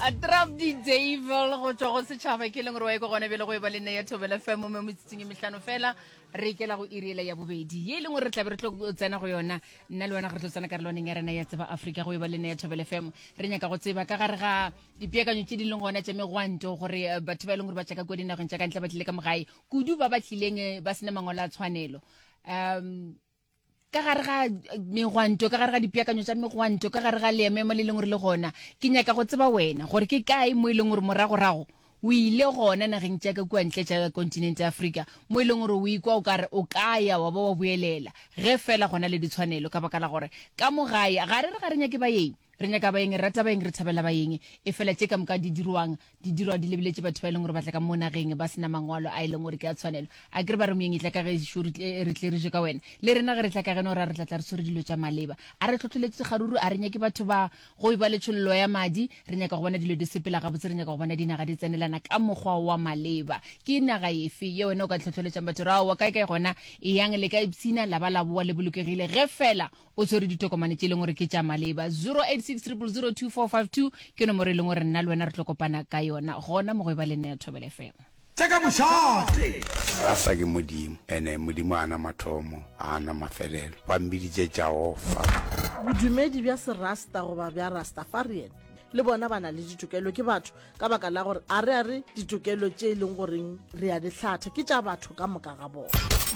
A trap di devil go tšwa go setšhaba ke leng gore wa ye ko gona bjale go e ba le nne ya thobela fm mo metsotsong e mehlano fela re ikela go iri ela ya bobedi ye e leng gore re tlabe re tlo tsena go yona nna le wena ge re tlo tsena karolwaneng ya rena ya tseba afrika go e ba le nne ya thobela fm re nyaka go tseba ka gare ga dipeakanyo tše di leng gona tša megwanto gore eh, batho ba e leng gore ba tšaka kua dinageng tša ka ntle ba tlile ka mogae kudu ba ba tlileng eh, ba sena mangwalo a tshwanelo um ka gare ga megwanto ka gare ga dipeakanyo tša megwanto ka gare ga leememo le leng gore le gona ke nyaka go tseba wena gore ke kae mo e leng gore moragorago o ile gona nageng tša ka kua ntle tša kontinente ya Afrika mo e leng gore o ikwa o kare o ka ya wa ba wa boelela ge fela gona le ditshwanelo ka baka la gore ka mo gae ga re re ga re nyake baeng Re nyaka baeng, re rata baeng, re thabela baeng. Efela tše ka moka di dirwang, di dirwa di lebeletše batho ba e leng gore ba tla ka mo nageng ba se na mangwalo a e leng gore ke a tshwanelo. A ke re ba re moeng e tla ka gešo re tle re tle re je ka wena. Le rena ge re tla ka geno ra re tla tla re tshwere dilo tša maleba. A re hlohleletše kgaruru, a re nyake batho ba go eba le tšhololo ya madi, re nyaka go bona dilo di sepela gabotse, re nyaka go bona dinaga di tsenelana ka mokgwa wa maleba. Ke naga efe ye wena o ka hlohleletšang batho gore aowa kae kae gona eyang le ka ipshina la ba la boa le bolokegile ge fela o tshwere ditokomane tše e leng gore ke tša maleba 086 0002452 ke nomoro e leng gore nna le wena re tlo kopana ka yona gona mo go e ba le nna ya Thobela FM. Tša ka mošate. Rasta ke Modimo, ene Modimo a na mathomo, a na mafelelo. Ba mmiditše Jahofa. Bodumedi bja Serasta goba bja Rastafarian le bona ba na le ditokelo, ke batho ka baka la gore a re a re ditokelo tše e leng goreng re a di hlatha ke tša batho ka moka ga bona.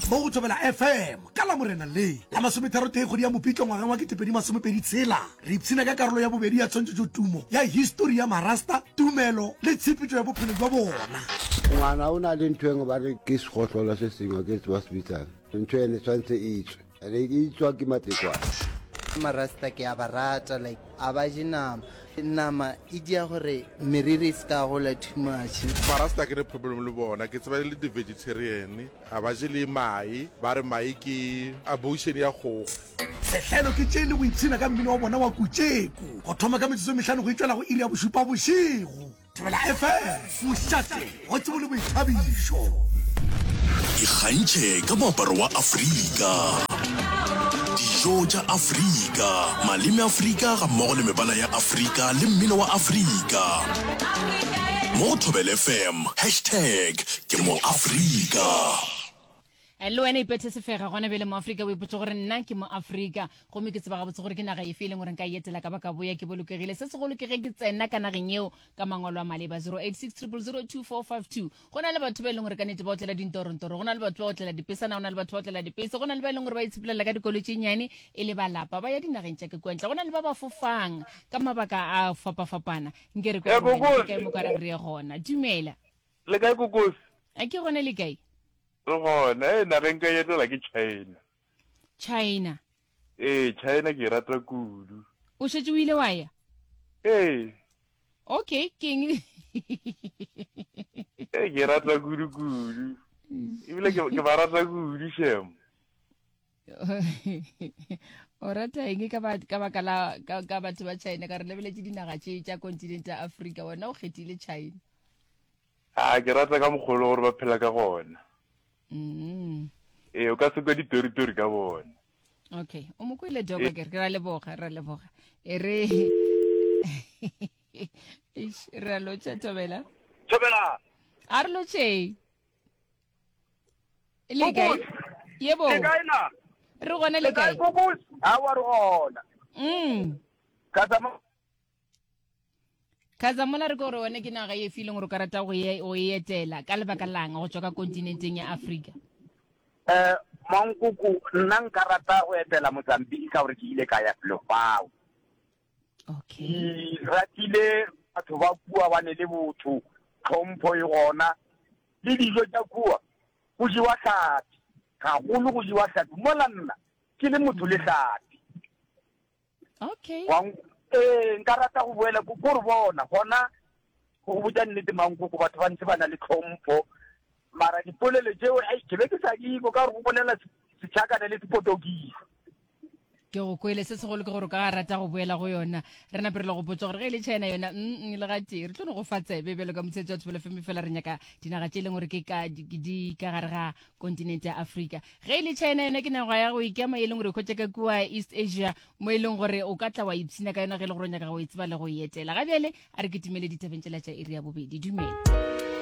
Mo go Thobela FM ka Lamorena le la masometharotee kgwedi ya Mopitlo ngwageng wa 2026, re ipshina ka karolo ya bobedi ya tshwantšhetšotumo ya histori ya Marasta, tumelo le tshepetšo ya bophelo bja bona. Ngwana o na le ntho engwe ba re ke segohlola se sengwe ke tseba se bitsang ntho ene tshwanetse e tswe ene e tswa ke matekwane. Marasta ke a ba rata like a ba je nama nama e dia gore meriri e se ka gola too much. Marasta ke ne problem le bona ke tseba e le di vegetarian a ba je le mae ba re mae ke abortion ya kgogo. Sehlelo ke tše le go ipshina ka mmino wa bona wa kutšeko go thoma ka metsotso e mehlano go itšwela go iri ya bošupa bošego. Thobela FM, mošate wa tsebo le boithabišo. Ikgantšhe ka moaparo wa Afrika, dijo tša Afrika, maleme Afrika gammogo le mebala ya Afrika le mmino wa Afrika. Mo go Thobela FM, hashtag ke mo Afrika. Eh, le wena ipethe sefega gona bjale moafrika o ipotse gore nna ke moafrika gomme ke tseba gabotse gore ke naga efe e leng gore nka e etela ka ba ka boya ke bolokegile se segolo ke ge ke tsena ka nageng yeo ka mangwalo a maleba 086 0002452 go na le batho ba e leng gore ka nete ba otlela dintorontoro go na le batho ba otlela dipesana go na le batho ba otlela dipese go na le ba e leng gore ba itshepelela ka dikolo tše nnyane e le balapa ba ya dinageng tša ke kua ntle go na le ba ba fofang ka mabaka a fapafapana nke re Eh, kwa Kokosi. kae mo ka re re ye gona dumela Le kae Kokosi? A ke gona le kae Re gona. Ee, nageng ka etela ke China. China. Ee, China ke e rata kudu. O šetše o ile wa ya? Ee. Okay, ke eng? Ee, ke e rata kudu kudu. Ebile ke ke ba rata kudu shem. O rata eng ka ba ka baka la ka, ka batho ba China ka re lebeletše dinaga tše tša kontinente ya Afrika wena o kgethile China. A ke rata ka mokgwa o le gore ba phela ka gona. Mm. Ee, o ka se kwe ditoritori ka bona. Okay, o mo kwele doka ke re ra leboga, ra leboga. E re Eish, re a lotšha Thobela. Thobela. A re lotšheng. Le kae? Yebo. Le kae na? Re gona le kae? Kokos. Awa re gona. Mm. Ka tsama Khazamola re ko gore wena ke naga e fe e leng gore o ka rata go e go e etela ka lebaka lang go tšwa ka kontinenteng ya Afrika? Eh, Mankoko, nna nka rata go etela Mozambique ka gore ke ile ka ya felo fao. Okay. Ke ratile batho ba kua ba ne le botho, tlhompho e gona, le dijo tša kua go jewa hlapi, gagolo go jewa hlapi. Mola nna ke le motho le hlapi. Okay. Wa ee, nka rata go boela ko ko re bona gona go go botša nnete mankoko batho ba ntse ba na le tlhompho mara dipolelo tšeo ai ke be ke sa di kwa ka gore go bolela setšhakane le sepotokisi. Ke go kwele se segolo ke gore o ka rata go boela go yona. Re nape re le gopotsa gore ge e le China yona mm le gatee re tlo no go fa tsebe bjalo ka motshetso wa Thobela FM fela re nyaka dinaga tše e leng gore ke ka di ka gare ga kontinente ya Afrika. Ge e le China yona ke naga ya go ikema e leng gore e hwetša ka kua East Asia mo e leng gore o ka tla wa ipshina ka yona ge e le gore o nyaka go e tseba le go e etela. Ga bjale a re kitimele ditabeng tšela tša iri ya bobedi. Dumela.